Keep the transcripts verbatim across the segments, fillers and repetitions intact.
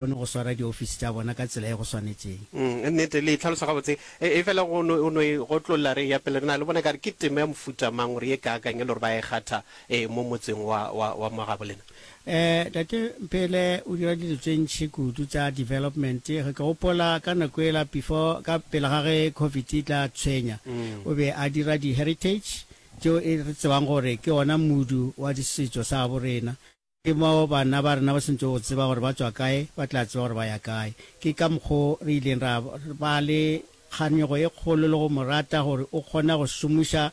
Kgone go swara diofisi tša bona ka tsela e go swanetšeng. Mm, nnete, le e hlalosa gabotse. E, efela go no, o no e gotlolla re eya pele, re na le bona ekare ke tema ya mofuta mang gore ye kaakang e le gore ba e kgatha e, mo motseng wa, wa, wa mo gabo lena? Eh, Tate Mphele o dira dilo tše ntši kudu tša development. Ge ke gopola ka nako yela before, ka pele ga ge Covid e tla tshwenya, o be a dira di-heritage tšeo e re tsebang gore ke ona modu wa disetšo sa gabo rena. Ke mo bana ba rena ba swanetšego go tseba gore ba tšwa kae, ba tla tseba gore ba ya kae. Ke ka mokgo re ileng ra ba le kganyogo e kgolo le go mo rata gore o kgona go šomiša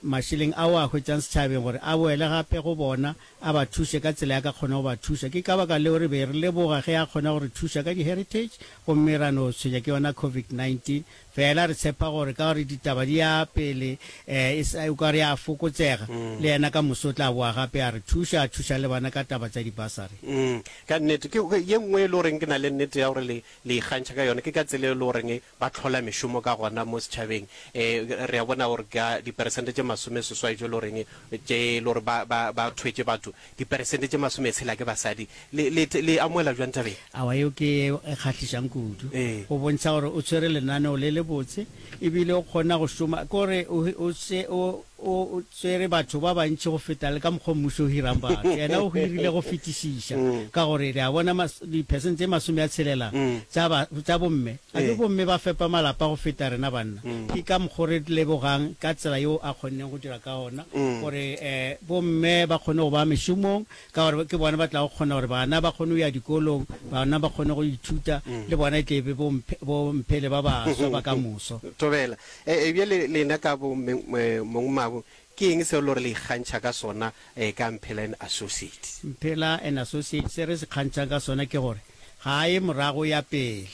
mašeleng ao a hwetšang setšhabeng gore a boele gape go bona, a ba thuše ka tsela ya ka kgona go ba thuša. Ke ka baka leo re be re leboga ge a kgona go re thuša ka di-heritage gomme ra no tshwenya ke yona Covid nineteen Fela re tshepa gore ka gore ditaba di ya pele, e sa, o ka re ya fokotsega, le yena ka moso o tla boa gape a re thuša, a thuša le bana ka taba tša dibasari. Mm, ka nnete. Ke, ke ye nngwe e le goreng ke na le nnete ya gore le, le ikgantšha ka yona, ke ka tsela e le goreng ba hlola mešomo ka gona mo setšhabeng. E, re a bona gore ka diperesente tše masomeseswai tše e le goreng, tše e le gore ba, ba, ba thwetše batho, diperesente tše masometshela ke basadi. Le, le, le amohela bjang taba ye? Aowa, yeo ke ye e kgahlišang kudu. Ee. Go bontšha gore o tshwere lenaneo le lebotse e bile o kgona go šoma. Ke gore o, o, o, o, o tšere batho ba bantši go feta le ka mokgwa mmušo o hirang batho. Yena o hirile go fetišiša, ka gore re a bona mas, diphesente tše masome a tshelela tša ba, tša bomme. A ke bomme ba fepa malapa go feta rena banna. Ke ka mokgwa re lebogang ka tsela yeo a kgonneng go dira ka gona gore um bomme ba kgone go ba mešomong, ka gore ke bona ba tlago kgona gore bana ba kgone go ya dikolong, bana ba kgone go ithuta, le bona e tle be bomphele ba baswa ba ka moso. Thobela. E, bjale lena ka bo mongmabo, ke eng seo le gore le ikgantšha ka sona ka Mphela and Associates? Mphela and Associates, se re se kgantšhang ka sona ke gore ga a ye morago o ya pele.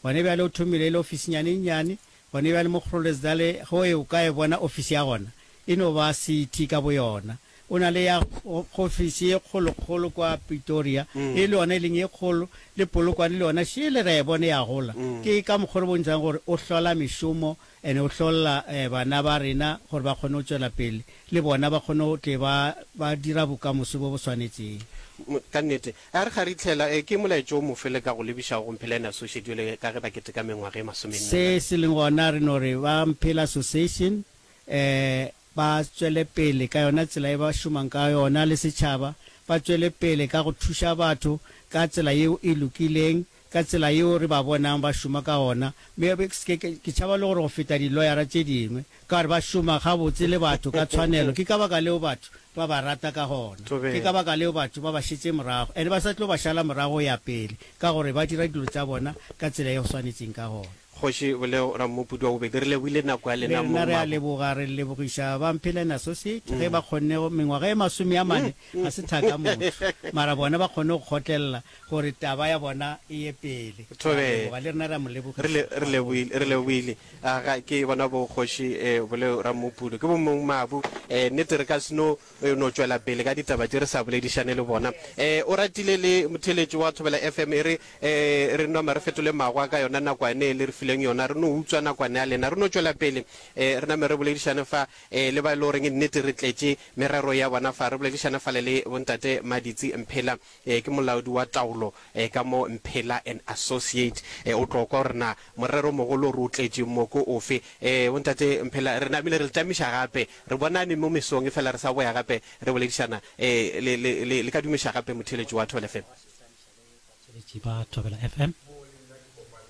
Gone bjale o thomile e le ofisinyane e nnyane, gone bjale mo Groblersdal ge o e o ka e bona ofisi ya gona e no ba city ka boyona. O na le ya ofisi ye kgolokgolo kwa Pretoria, e le yona e leng ye kgolo, le Polokwane le yona šele re a e bona e a gola. Ke ka mokgwa re bontšhang gore o hlola mešomo and o hlolla bana ba rena gore ba kgone go tšwela pele, le bona ba kgone go tle ba ba dira bokamoso bo bo swanetšeng. Ka nnete. A re kgaritlhela, ke molaetša o mofe le ka go lebišago go Mphela and Associate bjale ka ge ba keteka mengwaga e masomenne? Se se leng gona re no re ba Mphela Association um ba tšwele pele ka yona tsela ye ba šomang ka yona le setšhaba, ba tšwele pele ka go thuša batho ka tsela yeo e lokileng, ka tsela yeo re ba bonang ba šoma ka gona. Mme ke, ke, ke tšhaba le gore go feta diloyara tše dingwe, ka gore ba šoma gabotse le batho ka tshwanelo. Ke ka baka leo batho ba ba rata ka gona. Ke ka baka leo batho ba ba šetše morago, and ba sa tlo ba šala morago go ya pele, ka gore ba dira dilo tša bona ka tsela ye go swanetšeng ka gona. Kgoši Boleo Rammopudi wa bobedi, re lebohile nako ya Le lena rena re a mong leboga, re lebogiša ba Mphela and Associate ge ba kgonne go, mengwaga e masome a mane ga se thaka motho, mara bona ba kgonne go kgotlelela gore taba ya bona e ye pele. Re a Thobela. leboga, le rena re a mo Re lebogiša le, re gagolo. lebohile, re lebohile. Aga, ke bona bo Kgoši eh, Boleo Rammopudu, ke bo mong mabu. Eh, nnete re ka se no, eh, no tšwela pele ka ditaba tše re sa boledišane le bona. Eh, o ratile le motheeletši wa Thobela F M e re, eh, re nama re fetole magwa ka yona nakwane e le re fileng yona, re no utswa nakwane ya lena. Re no tšwela pele, eh, re name re boledišane fa, eh, le ba e le goreng nnete re tletše merero ya bona fa. Re boledišane fale le bontate Maditsi Mphela, eh, ke molaodi wa taolo, eh, ka mo Mphela and Associate. Eh, o tlo kwa gore na morero mogolo o re o tletšeng mo ke ofe. Eh, bontate Mphela, re namile re le tamiša gape. Re bonane mo mesong, efela re sa boya gape re boledišana. Eh, le, le, le, le ka dumiša gape motheeletši wa Thobela F M. Batheeletši ba Thobela F M.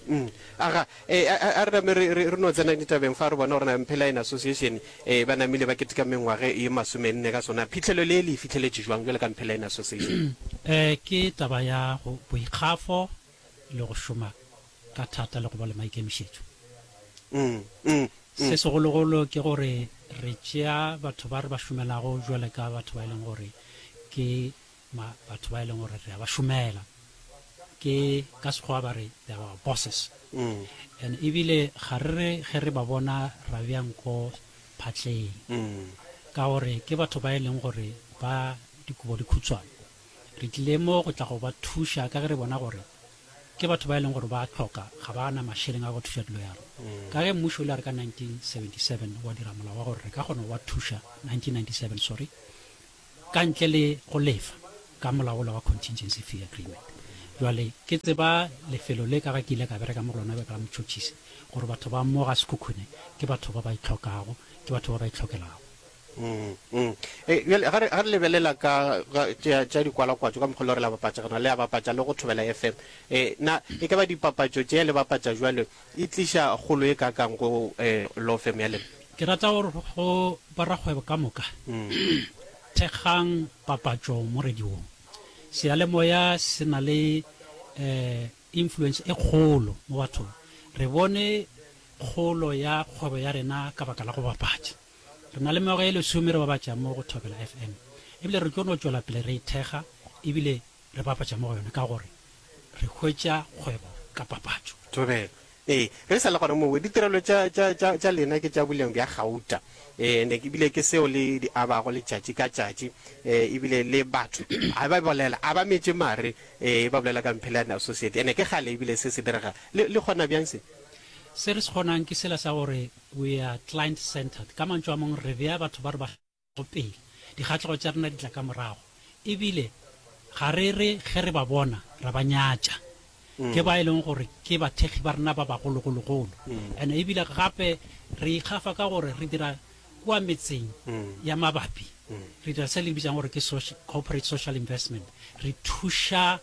Mm. Aga, eh, a, a, a re name re, re, re no tsena ditabeng fa re bona gore na Mphela and Association eh, ba namile ba keteka mengwage ye masomenne ka sona. Phihlelo le le e fihleletše jwang bjalo ka Mphela and Association? Eh, ke taba ya go boikgafo le go šoma ka thata le go ba le maikemišetšo. Mm, mm, mm. Se segologolo ke gore re tšea batho ba re ba šomelago bjale ka batho ba e leng gore ke ma, batho ba e leng gore re a ba šomela. Ke ka Sekgowa ba re they are our bosses. Mm. And ebile ga re re ge re ba bona ra bea nko phatleng. Mm. Ka gore ke batho ba e leng gore ba dikobo di khutshwane. Re tlile mo go tla go ba thuša ka ge re bona gore ke batho ba e leng gore ba hloka, ga ba na mašeleng a go thuša diloyara. Ka ge mmušo o ile a re ka nineteen seventy-seven wa dira molao wa gore re ka kgona go ba thuša, nineteen ninety-seven sorry, ka ntle le go lefa ka molao wola wa contingency fee agreement. Jwale ke tseba lefelo le ka ga ke ile ka bereka mo go lona bjalo ka motšhotšhisi, gore batho ba mo ga Sekhukhune ke batho ba ba itlhokago, ke batho ba ba itlhokelago. Mm, mm. E, bjale ga re, ga re lebelela ka, ga, tša, tša dikwalakwatšo ka mokgwa le gore la bapatša gona, le a bapatša le go Thobela F M. E, na e ka ba dipapatšo tše le bapatša jwalo e tliša kgolo e kakang go, e, law firm ya lena? Ke rata gore go barakgwebo ka moka, thekgang papatšo mo radiong. Seyalemoya se na le, eh, influence e kgolo mo bathong. Re bone kgolo ya kgwebo ya rena ka baka la go bapatša. Re na le mengwaga e lesome re bapatša mo go Thobela F M. Ebile re tlo no tšwela pele re ithekga, ebile re bapatša mo go yona ka gore re hwetša kgwebo ka papatšo. Thobela. Ee, re sa le gona moo, ditirelo tša, tša, tša, tša lena ke tša boleng bja gauta. Ee, ne ebile ke seo le di abago letšatši ka tšatši. Ee, ebile le batho a ba bolela, a ba metše mare, ee, ba bolela ka Mphela and Associate. Ene ke kgale ebile se se direga. Le, le kgona bjang se? Se re se kgonang ke sela sa gore we are client centered. Ka mantšu a mangwe re bea batho ba re ba go pele, dikgahlego tša rena di tla ka morago. Ebile ga re re ge re ba bona ra ba nyatša. Ke ba e leng gore ke bathekgi ba rena ba bagologologolo. And ebile gape re ikgafa ka gore re dira kua metseng ya mabapi. Re dira se le bitsang gore ke social, corporate social investment. Re thuša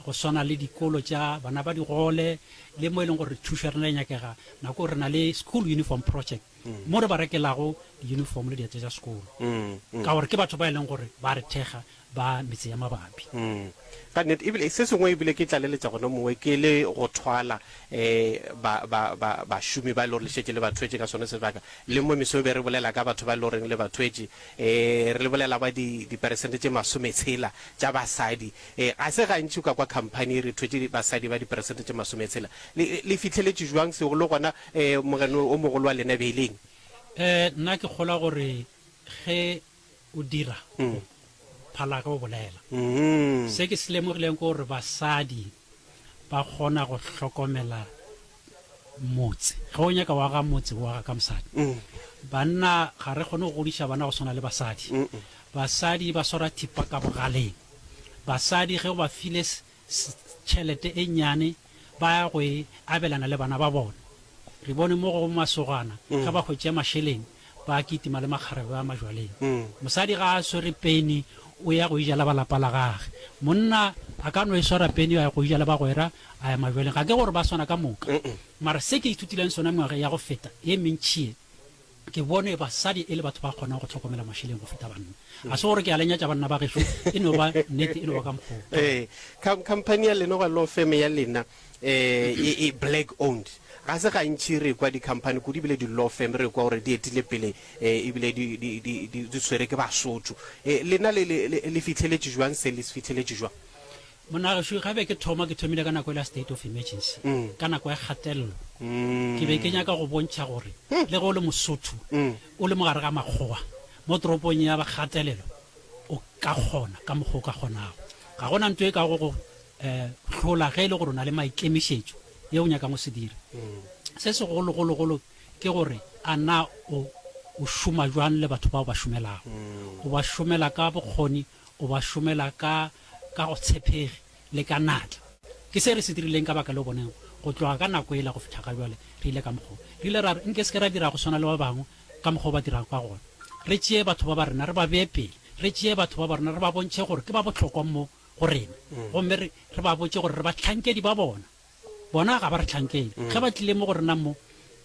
go swana le dikolo tša bana ba digole, le mo e leng gore thušo ya rena e nyakega. Nako re na le school uniform project, mo re ba rekelago di-uniform le dieta tša sekolo. Ka gore ke batho ba e leng gore ba re thekga ba metse ya mabapi. Ka nnete, ebile se sengwe ebile ke tlaleletša gona mongwe ke le go thwala, eh, ba, ba, ba, bašomi ba e le gore le šetše le ba thwetše ka sone sebaka. Le mo mesong be re bolela ka batho ba e le goreng le ba thwetše, eh, re bolela ba di, diperesente tše masometshela tša basadi. Eh, ga se gantši o ka kwa company re thwetše basadi ba diperesente tše masometshela. Le, le fihleletše jwang seo le gona, eh, mogeno o mogolo wa lena beileng? Eh, nna ke kgolwa gore ge o dira, phala ge o bolela. Se ke se lemogileng ke gore basadi ba kgona go hlokomela motse. Ge o nyaka wa ga motse, o aga ka mosadi. Banna ga re kgone go godiša bana go swana le basadi. Basadi ba swara thipa ka bogaleng. Basadi ge o ba file s-, s-, tšhelete e nnyane, ba ya go e abelana le bana ba bona. Re bone mo go masogana, ge ba hwetša mašeleng, ba kitima le makgarebe a majwaleng. Mosadi ga a swere peni, o ya go ija le ba lapa la gagwe. Monna a ka no e swara peni, a ya go ija le bagwera, a ya majwaleng. Ga ke gore ba swana ka moka. Mara se ke ithutileng sona mengwaga ya go feta e mentši e, ke bone basadi e le batho ba kgonang go hlokomela mašeleng go feta banna. Ga se gore ke a le nyatša banna ba gešo, e no ba nnete, e no ba ka mokgwa o. Ee, com-, company ya lena goba law firm ya lena, eh, e, e black owned. Ga se gantši re kwa di-company kudu ebile di-law firm re kwa gore di etile pele, eh, ebile di, di, di, di, di tshwere ke Basotho. Eh, lena le, le, le, le fihleletše jwang se, le se fihleletše jwang? Monna gešo, ga be ke thoma, ke thomile ka nako e la state of emergency, ka nako ya kgatelelo. Ke be ke nyaka go bontšha gore le ge o le Mosotho, o le mogare ga makgowa mo toropong ya kgatelelo, o ka kgona ka mokgwa o ka kgonago. Ga gona ntho e ka go go, eh, hlola ge e le gore o na le maikemišetšo ye o nyakang go se dira. Se segologologolo ke gore a na o, o šoma jwang le batho bao ba šomelago. O ba šomela ka bokgoni, o ba šomela ka, ka go tshepege le ka natla. Ke se re se dirileng ka baka le boneng go tloga ka nako ela go fihla ga jwale, re ile ka mokgwa. Re ile ra re nke se ke ra dira go swana le ba bangwe ka mokgwa ba dirang ka gona. Re tšee batho ba ba rena re ba bee pele, re tšee batho ba ba rena re ba bontšhe gore ke ba bohlokwa mo go rena. Gomme re, re ba botše gore re bahlankedi ba bona. Bona ga ba re hlankele. Ge ba tlile mo go rena mo,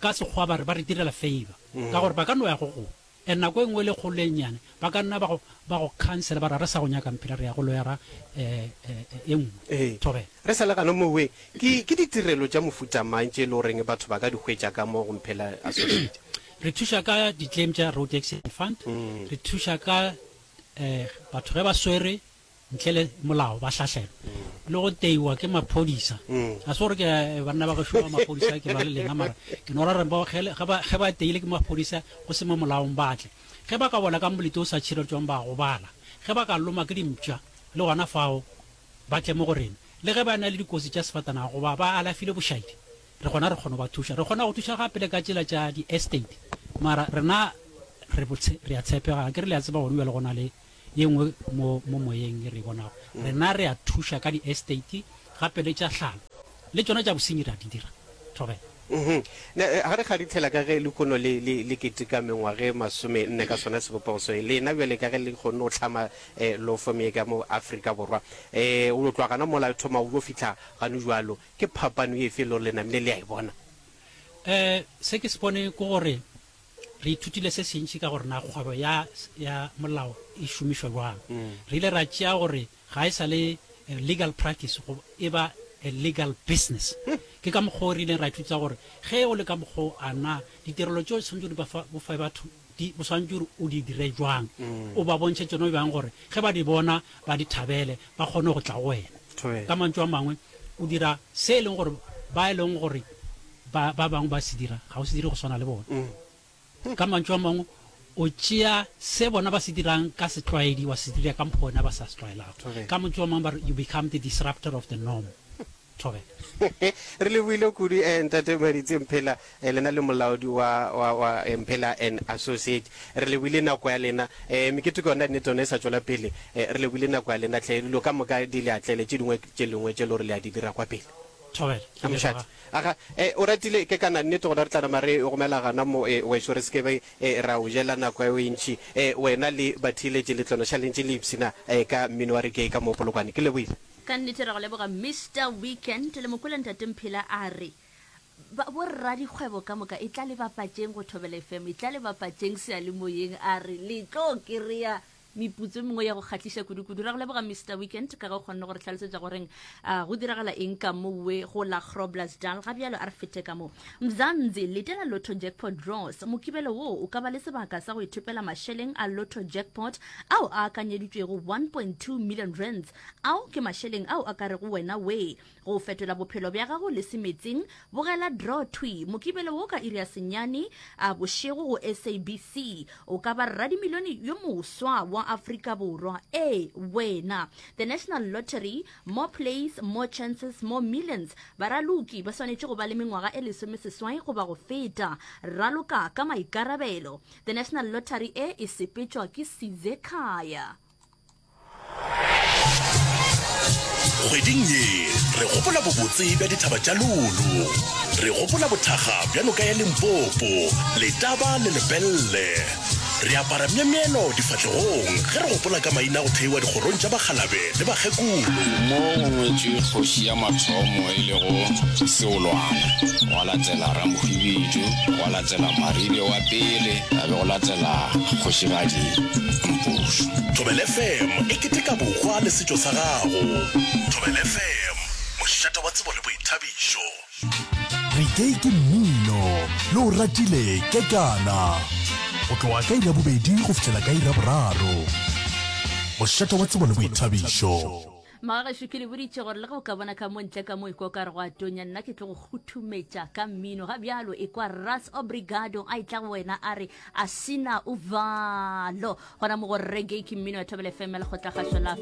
ka sekgowa ba re ba re direla favor. Ka gore ba ka no ya go go. And nako e nngwe le kgolo e nnyane, ba ka nna ba go, ba go cancel, ba re, re sa go nyaka mphela, re ya go loyara, eh, eh, e nngwe. Ee. Thobela. Re sa le gana mowe, ke, ke ditirelo tša mofuta mang tše e le goreng batho ba ka di hwetša ka mo go Mphela Associate? Re thuša ka di-claim tša Road Accident Fund. Re thuša ka, eh, batho ge ba swere ntle le molao ba hlahlelwa. Le go teiwa ke maphodisa. Ga se gore ke, eh, banna ba gešo ba maphodisa ke ba le lena, mara ke no ra re ba, ge le, ge ba, ge ba teile ke maphodisa go se mo molaong ba tle. Ge ba ka wela ka molete o sa tšhireletšwang ba gobala. Ge ba ka loma ke dimpša le gona fao ba tle mo go rena. Le ge ba na le dikotsi tša sefatanaga goba ba alafile bošaedi, re gona re kgona go ba thuša. Re kgona go thuša gape le ka tsela tša di-estate. Mara rena re botse, re a tshepega. Ke re le a tseba gone bjale go na le ye nngwe mo, mo moyeng e re e bonago. Rena re a thuša ka di-estate, gape le tša hlalo le tšona tša bosenyi re a di dira. Thobela. Mhm. Ne, eh, ga re kgadithela ka ge lehono le, le, le keteka mengwaga e masome nne ka sona sebopego se, lena bjale ka ge le kgonne go hlama eh, law firm ye ka mo Afrika Borwa, eh, o tloga gana mola e thoma go yo fihla gane jwalo, ke phapano efe e le gore le namile le a e bona? Eh, se ke se bone ke gore re ithutile se sentši ka gore na kgwebo ya, ya molao e šomišwa jwang. Re ile ra tšea gore ga e sa le eh, legal practice go e ba a legal business. Ke ka mokgwa o re ileng ra ithuta gore ge o le ka mokgwa o a na ditirelo tšeo tshwanetse o di ba fa- bo fe batho di o swanetše gore o di dire jwang, o ba bontšhe tsona bjang gore ge ba di bona ba di thabele ba kgone go tla go wena. Thobela. Ka mantšu a mangwe o dira se e leng gore ba e leng gore ba ba bangwe ba se dira ga o se dire go swana le bona. Ka mantšu a mangwe o tšea se bona ba se dirang ka setlwaedi wa se dira ka mokgwa wena ba sa se tlwaelago. Thobela. Ka mantšu a mangwe ba re you become the disruptor of the norm. Thobela. Re lebohile kudu eh, ntate Maditsi Mphela, eh, lena le molaodi wa, wa, wa eh, Mphela and Associate. Re lebohile nako ya lena. Eh, mekete ke yona nnete yona e sa tšwela pele. Eh, re lebohile nako ya lena hle, dilo ka moka di le atlele, tše dingwe tše lengwe tše le gore le a di dira kwa pele. Thobela. Ke A mošate. leboga. Aga, eh, o ratile ke kana nnete gona re tla nama re gomela gana mo eh, wešo re se ke be eh, ra o jela nako ya e ntši. Eh, wena le batheeletši le tlono šalentše le ipshina eh, ka mmino wa reggae ka mo Polokwane. Ke lebohile. Ka nnete re go leboga Mister Weekend le mokwele ntate Mphela a re ba bo radikgwebo ka moka e tla le bapatšeng go Thobela F M e tla le bapatšeng seyalemoyeng a re le tlo kry-a meputso e mengwe ya go kgahliša kudu-kudu. Ra go leboga Mister Weekend ka ge o kgonne gore hlalosetša goreng uh, go diragala eng ka mowe go la Groblersdal. Ga bjalo a re fete ka mo Mzansi letela Lotto Jackpot Draws. Mokibelo wo o ka ba le sebaka sa go ithopela mašeleng a Lotto Jackpot ao a akanyeditšwego one point two million rands. Ao ke mašeleng ao a ka rego wena we go fetola bophelo bja gago le semetseng. Bogela draw thwi mokibelo wo ka iri ya senyane a bošego go S A B C. O ka ba radimilione yo moswa wa Afrika Borwa. E wena. The National Lottery, more plays, more chances, more millions. Baraloki ba swanetše go ba le mengwaga e lesome seswai goba go feta. Raloka ka maikarabelo. The National Lottery e e sepetšwa ke Sizekhaya. Kgweding ye re gopola bobotse bja dithaba tša Lulu, re gopola bothakga bja noka ya Limpopo, Letaba le Lepelle. Re apara myemyelo difahlegong ge re gopola ka maina go theiwa dikgorong tša bakgalabe le bakgekolo. Mo go ngwetšwe kgoši ya mathomo e lego Seolwana, gwa latela Ramohwibidu, gwa latela Maribe wa pele, a be go latela kgošigadi Mpošo. Thobela F M e keteka bohwa le setšo sa gago. Thobela F M, mošate wa tsebo le boithabišo. Reggae ke mmino, le o ratile kekana. Go tloga ka iri ya bobedi go fihlela ka iri ya boraro. Mošate wa tsebo le boithabišo. Magagešo ke le boditše gore le ge o ka bona ka mo ntle ka mo e kwa o ka re go a tonya, nna ke tlo go kguthumetša ka mmino. Ga bjalo e kwa Ras Obrigado a etla go wena a re a sina uvalo. Gona mo go reggae ke mmino ya Thobela F M ya lekgotlakgašo la